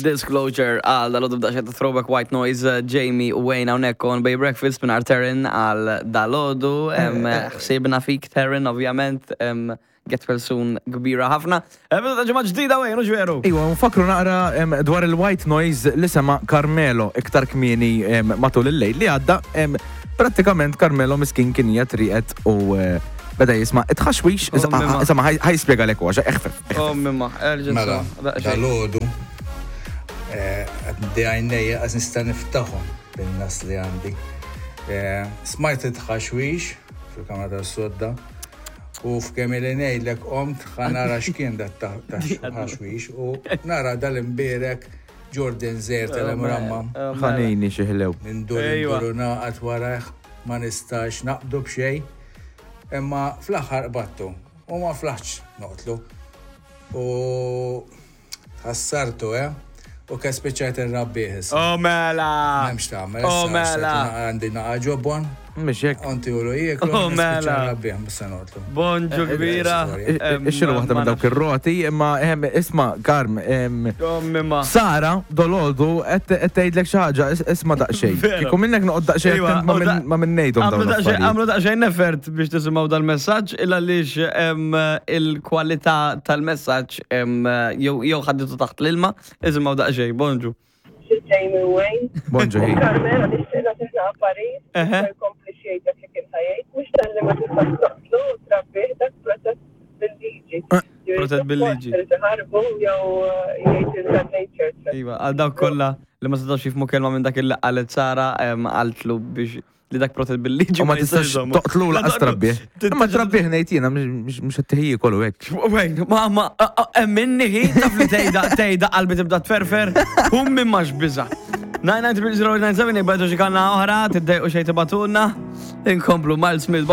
Disclosure għal dalodu b'daqsxejn ta' throwback white noise eh, Jamie u Wayne hawnhekk on Bay Breakfast minn Terren għal dalodu. Em, Ħsibna fik Terren ovvjament em, get well soon kbira ħafna. Eh, Bidu ta' ġimgħa ġdida Wayne, hux veru? Iwa, nfakru naqra em, dwar il-white noise li sema Carmelo iktar kmieni em, matul il-lejl li għadda. em, Prattikament Carmelo miskin kien qiegħed rieqed u eh, beda jisma' it-tħaxwix, Oh, mimma. insomma ħaj jispjega lek għax eħfef. Oh mimma, erġa' Mela, daqsxejn. dal-ħodu, għaddi għajnejja għaz nista niftaħom bin-nas li għandi. Eh, Smajt it-ħaxwix fil-kamra tas-sodda u f'kemm li ngħidlek qomt ħa nara x'kien dat ta' ħaxwix u nara dal-imbierek Jordan Zer tal-Emramma. Oh, mela. Ħanini xi ħlew. Nindur Ejwa. indur u naqat warajh ma nistax naqbdu b'xejn. Imma fl-aħħar qbadtu u ma flaħtx noqtlu. U ħassartu, eh? U ke spiċċajt irrabbih issa. Oh mela! M'hemmx tagħmel. Oh issa mela! issa Għandi naqa ġobon, Mhux hekk. onti u jieklu, Oh, nispiċċa mela. nrabbih, mhux se noqtlu. Bonġu kbira. Em, Ixxilu waħda ma minn dawk nafx. ir-roti, imma em, isma' Karm, em, Oh mimma. Sara, dolodu, qed tgħidlek xi ħaġa, is- isma' daqsxejn. Vera. Kieku minnek noqgħod daqsxejn Iwa, attent ma u da- minn- ma minn ngħidhom Għamlu dawn daqsxejn- l-affarijiet. Għamlu daqsxejn effort biex tisimgħu dal-messaġġ illa għaliex em, il-kwalità tal-messaġġ em, jew jew ħadditu taħt l-ilma, isimgħu daqsxejn, bonġu. Jamie Wayne. Bonġu hi. Carmelo nixtieq nagħtihna Paris, Eħe. ma jkompli xejn dak li kien ħajjejt, mhux talli ma tistax toqtlu u trabbih dak protett bil-liġi. Protett bil-liġi. Irid iħarbu jew eh, jgħid il-nature. Iva, għal dawk kollha li ma setgħux jifhmu kelma minn dak il qalet Sara em, qaltlu biex li dak protett bil-liġi. U ma tistax jistax jżommu. toqtlu La laqas toqtlu. trabbih. Imma trabbih ngħid jiena mhux mhux qed tiħji kollu hekk. Wejn, ma ma minni hi taf li tgħidha tgħidha qalbi tibda tferfer, hum minn max biża. 99097 jibgħatu xi kanna oħra, tiddejqu xejn tibatulna. Inkomplu Miles Smith Bond.